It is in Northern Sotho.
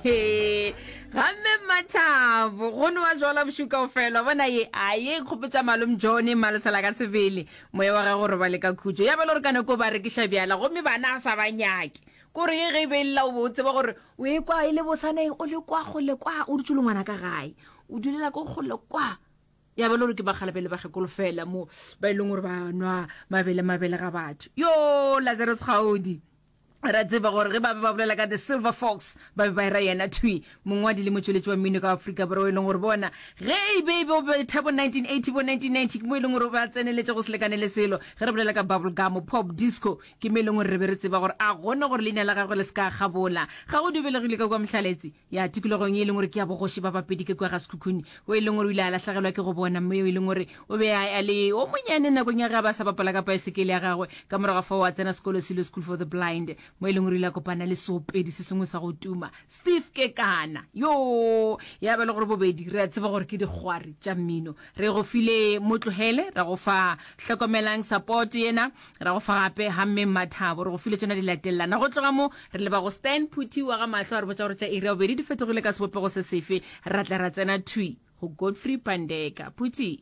Gamme Mmathabo, go nowa jwala bošego kaofela. Bona ye, a ye kgopotša malome John Malesela ka sebele. Moya wa gagwe o robale ka khutšo. Ya ba le gore ka nako ba rekiša bjala gomme bana a sa ba nyake. Kore ye ge e be e lla o be o tseba gore o e kwa e le bosaneng o le kwa kgole kwa o dutše le ngwana ka gae. O dulela ko kgole kwa. Ya ba le gore ke bakgalabje le bakgekolo fela mo ba e leng gore ba nwa mabele mabele ga batho. Yo Lazarus Kgaodi. Ra tseba gore ge ba be ba bolela ka The Silver Fox, ba be ba era yena thwi, mongwadi le motšweletši wa mmino ka Afrika Borwa, e leng gore bona ge e be e be o betha bo 1980 bo 1990 ke mo e leng gore o be a tseneletše go se lekane le selo. Ge re bolela ka bubble gum, pop, disco, ke mo e leng gore re be re tseba gore a gona gore leina la gagwe le se ka kgabola. Ga go dubelegile ka kua Mohlaletse, ya tikologong ye e leng gore ke ya bogoši ba Bapedi ke kua ga Sekhukhune, o e leng gore o ile a lahlagelwa ke go bona mme yo e leng gore o be a a le o monyane nakong ya ge a ba sa bapala ka paesekele ya gagwe. Ka morago ga fao a tsena sekolo Silo School for the Blind, mo e leng gore o ile a kopana le seopedi se sengwe sa go tuma, Steve Kekana. Yoo! Ya ba le gore bobedi re a tseba gore ke dikgwari tša mmino. Re go file Motlogele, ra go fa Hlokomelang Support yena, Ra go fa gape Hammeng Mathabo. Re go file tšona di latelelana. Go tloga mo, re leba go Stan Phuthi wa ga Mahlo a re botša gore tša iri ya bobedi di fetogile ka sebopego se sefe. Ra tla ra tsena thwi go Godfrey Pandeka. Phuthi.